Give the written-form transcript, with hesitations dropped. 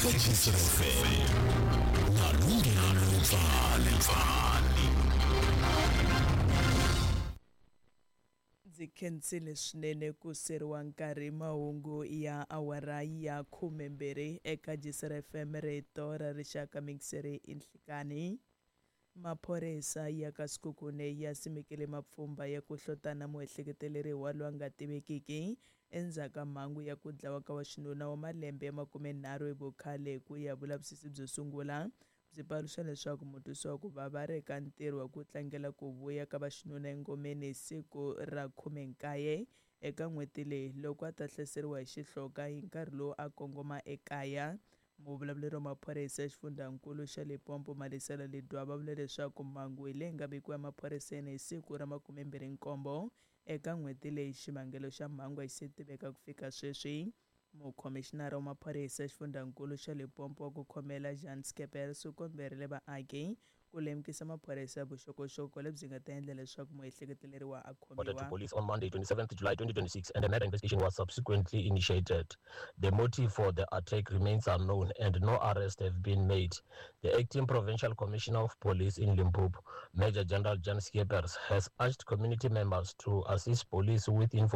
Eka GCFM na Lunghelo Pfani. Ndzi khensile swinene ku seriwa nkarhi mahungu ya awara ya 12 eka Gisere FM rito ra rixaka mixere inhlikani. Maphorisa ya ka Sekhukhune ya simekile mapfhumba ya ku hlotana muehleketeleriwa loyi a nga tivekiki endzhaku ka mhangu ya ku dlawa ka wa xinuna wa malembe ya 30 hi vukhale ku ya vulavisisi byo sungula byi paluxa leswaku mutwisi wa ku vava a ri eka ntirho wa ku tlangela ku vuya ka vaxinuna engomeni hi siku ra 19 eka n'hweti leyi loko a ta hlaseriwa hi xihloka hi nkarhi lowu a kongoma ekaya. Muvulavuleri wa maphorisa ya xifundzankulu xa Limpopo Malisela Ledwaba va vule leswaku mhangu hi leyi nga vikiwa emaphoriseni hi siku ra 27 eka n'hweti leyi. Xivangelo xa mhangu a xi se tiveka ku fika sweswi. Mukhomixinara wa maphorisa ya xifundzankulu xa Limpopo wa ku khomela Jan Skeepers u komberile vaaki ku lemukisa maphorisa vuxokoxoko lebyi nga ta endla leswaku muehleketeleriwa a Reported to khomiwa. police on Monday, 27th July 2026, and a murder investigation was subsequently initiated. The motive for the attack remains unknown and no arrests have been made. The acting provincial commissioner of police in Limpopo, Major General Jan Skeepers, has urged community members to assist police with information.